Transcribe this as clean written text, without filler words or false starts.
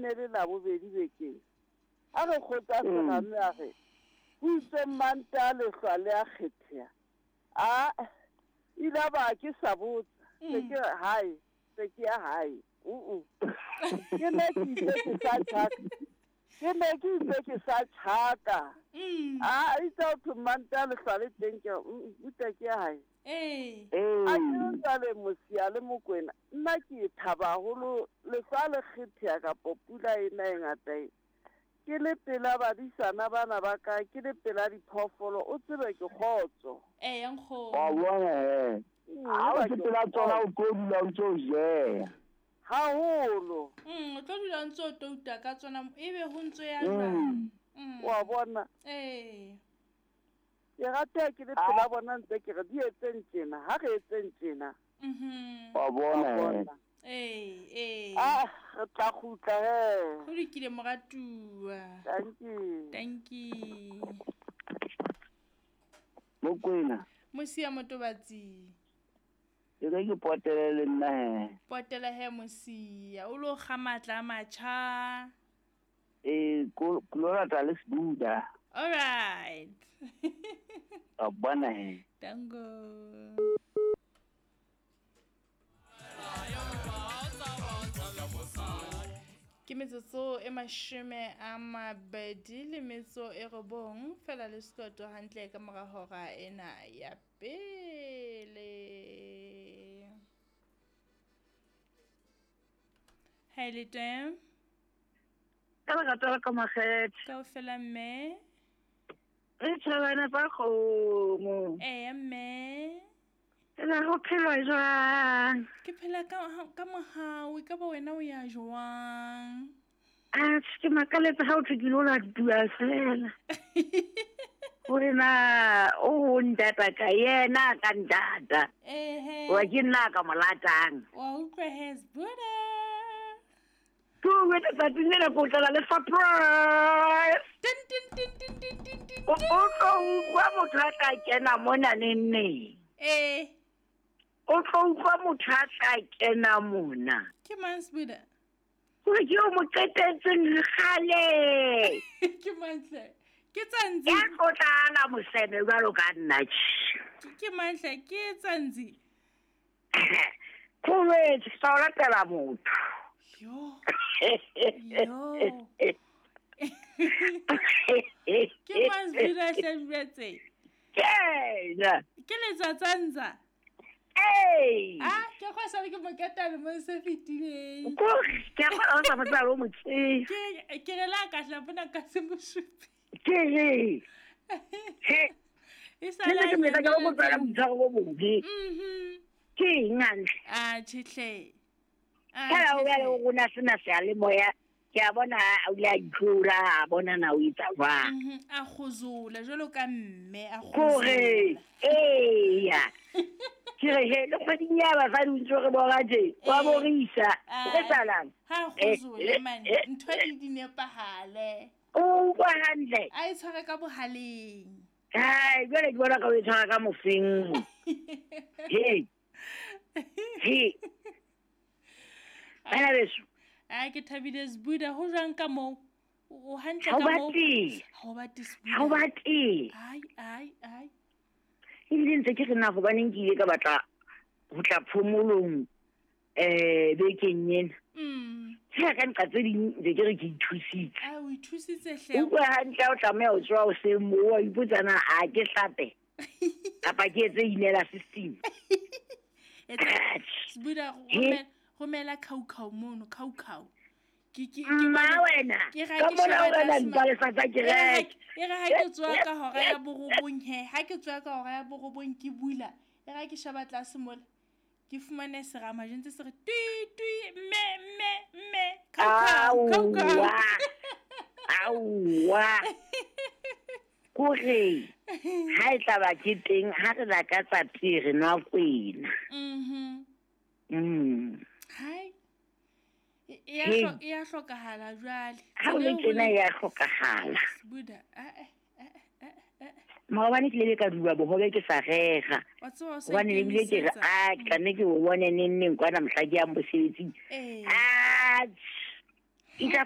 ne le Labobedi bekeng. A re kgotsa serame a re, Ho itse Mantaha lehlwa le a kgetheha. Aa, ile ba ke sa botsa. Se ke re hae, se ke ya hae. Uh-uh. Ke ne ke itse ke sa tjhaka. Ke ne ke itse ke sa tjhaka. A itse ho thwe Mantaha lehlwa le teng ke re, mm, buta ke ya hae. Ee. A ke re jwale Mosia le Mokwena, nna ke thaba haholo lehlwa le kgetheha kapo pula e na e ngata e. Ke le pela badisana bana ba ka, ke le pela diphoofolo, o tsebe ke kgotso. Eya, nkgono. Wa bona he. Ha o se pela tsona o tlo dula o ntse o jeha. Haholo. O tlo dula o ntse o touta ka tsona ebe ho ntso ya jwang. Wa bona? Ee. Ke rata ke le pela bona ntse ke re di etseng tjena, ha re etseng tjena. Wa bona he. Ee, ee. Ah, re tla kgutla he. Ho lokile moratuwa. Thank you. Thank you. Mokwena. Mosia Motobatsi. E re ke potele le nna he. Potela he Mosia, o lo kga matla a matjha. Ee, ko lo rata le Sebuda. All right. Wa bona he. Tango. Ke metsotso e 29 fela le sekoto hantle ka mora hora ena ya pele. Ha le teng? Ka lerato la ka makgethe. Kaofela mme. Re tjhabana tsa kgomo. Eya mme. Ena ho phelwa jwang? Ke phela ka mohau, e ka ba wena o ya jwang? Atjhe, ke makaletse ha o thwe ke lo latuwa fela. Hore na o ntata ka yena ka ntata. Ehe. Wa ke nna ka mo latang. Wa utlwa he Sbuda. Ke o wetsa tsatsing lena ko tlala le surprise. Tin tin tin tin tin tin tin. O tlo utlwa motho a tla kena mona neng neng. Eh. O tlo utlwa motho a tla kena mona. Ke mang Sbuda? Hore ke o mo qetetseng kgale. Ke mang hle? Ke Tsanzi. Ya tlotlana moseme jwalo ka nna. Ke mang hle? Ke Tsanzi. Khowetse sa o latela motho. Yo. Yo. Ke mang Sbuda hle jwetse? Ke Ke letsatsanza. Ee. Ah, ke go sa le ke moketane mo se fetileng. Ko ke a go sa motsa lo motse. Ke re la ka hla bona ka se mosupi. Ke re. He. E sa la ke meta ka go tsala motshwaro bo bobe. Ke eng hantle? Ah, tjhehle. Ah, o ya le rona sena se a le moya. Ke a bona o ile a itlora, a bona na o etsa jwang. A kgozola jwalo ka mme, a kgozola. Kore, eya. Ke re he, le kgweding ya basadi o ntso re bora tje, wa borisa. O etsalang? Ha kgozola man, ntho di nepahale. O utlwa hantle. A e tshware ka bohaleng. Hai, jwale ke bona ka o e tshwara ka mofeng. He. He. Bana beso. A ke thabile Sbuda, ho jwang ka moo? O hantle ka moo? Ha o bate Sbuda. Ha o bate. Ai ai ai. Ebile ntse ke re na hobaneng ke ile ka batla ho tla phomolong bekeng ena. Ke ka nqa tse ding ntse ke re ke ithusitse. A o ithusitse hle. O utlwa hantle o tlameha ho tswa hoseng moo wa ipotsa na a ke hlape. Kapa ke etse inela system. Sbuda romela khaukhau mono, khaukhau. Ke mma wena. Ka mona o rena dipalesa tsa kereke. E re ha ke tswa ka hora ya borobong he, ha ke tswa ka hora ya borobong ke bula. E re ha ke sheba tlase mola. Ke fumane serama jentse se re tui tui mme mme mme khaukhau khaukhau. Aowa. Kore ha e tla ba ke teng ha re lakatsa tee re nwa kwena. Hai. E a hlokahala jwale. Ha o le tjena e a hlokahala. Sbuda. Maobane ke ile ka duba bohobe ke sa rera. Hobane ebile ke re a ke tla nne ke o bone neng neng kwana mohla ke yang mosebetsing. Ah. Itla